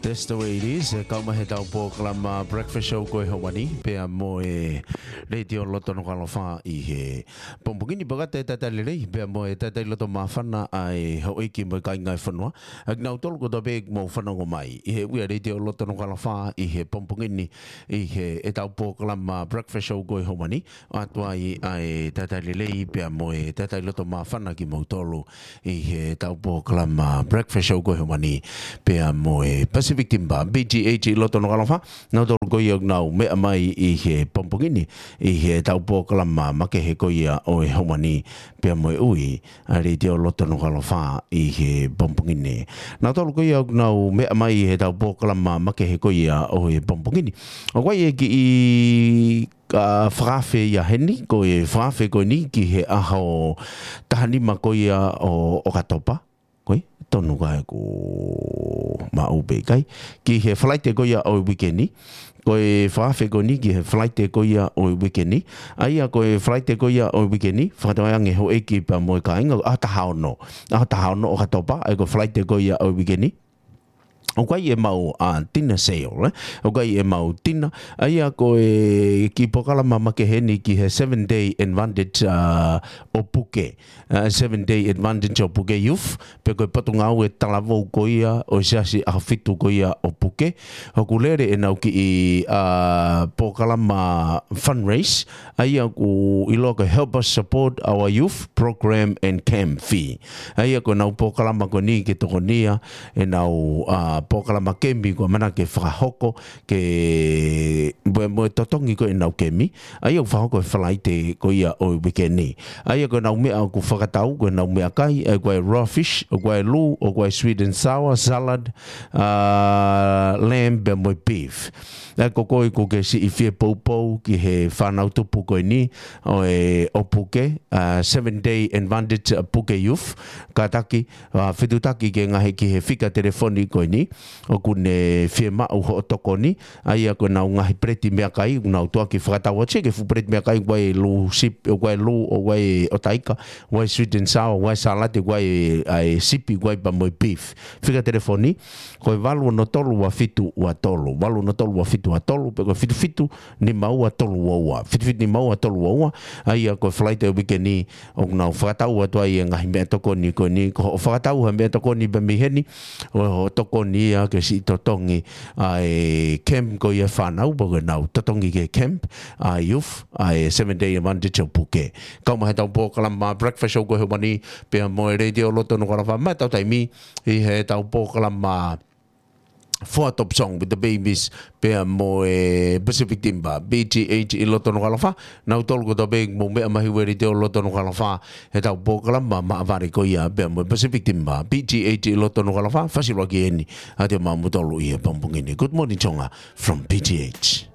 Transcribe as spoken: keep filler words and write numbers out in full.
That's the way it is. E kau mai he tau polokalama Breakfast Show ko e ʻaho ni, pea mo e Letiō Loto Nukuʻalofa ʻi he pongipongi ni. Pea ʻoku ʻi ai e talitali lelei, pea mo e talitali loto māfana ʻa e houʻeiki mo e kāinga e fonua. ʻA kinautolu kotoa pē ʻoku mou fanongo mai ʻi he ʻū ʻa e Letiō Loto Nukuʻalofa ʻi he pongipongi ni, ʻi he ʻetau polokalama Breakfast Show ko e ʻaho ni. ʻOatu ai ʻa e talitali lelei pea mo e talitali loto māfana kimoutolu ʻi he tau polokalama Breakfast Show ko e ʻaho ni, pea mo e Pacific Timber, B G H ʻi Loto Nukuʻalofa, nautolu ko ia ʻoku nau meʻa mai ʻi he pongipongi ni, ʻi he tau polokalama makehe ko ia ʻo e ʻaho ni, pea mo e ʻū ʻa e Letiō Loto Nukuʻalofa ʻi he pongipongi ni. Nautolu ko ia ʻoku nau meʻa mai ʻi he tau polokalama makehe ko ia ʻo e pongipongi ni. ʻOku ʻi ai e kiʻi fakaafe ia heni, ko e fakaafe ko eni ki he ʻaho taha nima ko ia ʻo ʻOkatopa. Ko e tonu ka ʻoku maʻu pē ʻikai. Ki he Falaite ko ia ʻo e uike ni. Ko e fakaafe ko eni ki he Falaite ko ia ʻo e uike ni. ʻA ia ko e Falaite ko ia ʻo e uike ni, fakatokangaʻi ange houʻeiki pea mo e kāinga, ʻaho taha ono. ʻAho taha ono ʻOkatopa, ʻa ia ko e Falaite ko ia ʻo e uike ni. ʻOku ʻi ai ʻemau, ʻa, dinner sale, ē? ʻOku ʻi ai ʻemau dinner. ʻA ia ko e kiʻi polokalama makehe eni ki he seven day advantage, ʻa, ʻo Puke. ʻA, seven day advantage ʻo Puke Youth. Pea ko e potungāue talavou ko ia ʻo e Siasi ʻAho Fitu ko ia ʻo Puke. ʻOku lele ʻenau kiʻi, ʻa, polokalama fundraise. ʻA ia ʻoku ʻiloa ko e Help Us Support Our Youth Program and Camp Fee. ʻA ia ko ʻenau polokalama ko eni ke tokonia ʻenau, ʻa, polokalama kemi ko e mana ke fakahoko ke mo, mo e totongi ko ʻenau kemi. ʻA ia ʻoku fakahoko he Falaite ko ia ʻo e uike ni. ʻA ia ko ʻenau meʻa ʻoku fakatau, ko ʻenau meʻakai, ʻa ia ko e raw fish, ʻa ia ko e lū, ʻa ia ko e sweet and sour, salad, ʻa, lamb, pea mo e beef. ʻA ia ko koe ʻoku ke siʻi fie poupou ki he fānau tupu ko eni ʻo e ʻo Puke, ʻa, seven day advantage ʻa Puke Youth, kātaki, ʻa, fetutaki ke ngaahi ki he fika telefoni ko eni, ʻoku ne fiemaʻu hoʻo tokoni, ʻa ia ko ʻenau ngaahi peleti meʻakai, ʻoku nau tuʻuaki fakatau atu ki he fuʻu peleti meʻakai, ʻa ia ko e lū sipi, ʻa ia ko e lū, ʻa ia ko e ʻotaika, ʻa ia ko e sweet and sour, ʻa ia ko e salad, ʻa ia ko e, ʻa e sipi, ʻa ia pea mo e beef. Fika telefoni, ko e valu ono tolu ua fitu ua tolu, valu ono tolu ua fitu ua tolu, pe ko e fitu fitu nima ua tolu ua ua, fitu fitu nima ua tolu ua ua, ʻa ia ko e Falaite ʻo e uike ni ʻoku nau fakatau atu ai e ngaahi meʻatokoni ko eni, ko hoʻo fakatau ha meʻatokoni pē mei heni, ʻo hoʻo tokoni ia ke siʻi totongi ʻa e camp ko ia fānau, pe ko ʻenau totongi ki he camp, ʻa e youth, ʻa e seven day advantage ʻo Puke. Kau mai he tau polokalama Breakfast Show ko e ʻaho ni, pea mo e Letiō Loto Nukuʻalofa, maʻa ʻetau taimi, ʻi he tau polokalama Four Top Song with the Babies, pea mo e Pacific Timber, B G H ʻi Loto Nukuʻalofa, nautolu kotoa pē ʻoku mou meʻa mai he ʻū ʻa e Letiō Loto Nukuʻalofa, he tau polokalama maʻa vale ko ia, pea mo e Pacific Timber, B G H ʻi Loto Nukuʻalofa, fasiloaki eni, ʻa ia maʻamoutolu ʻi he pongipongi ni. Good morning, Tonga, from B G H.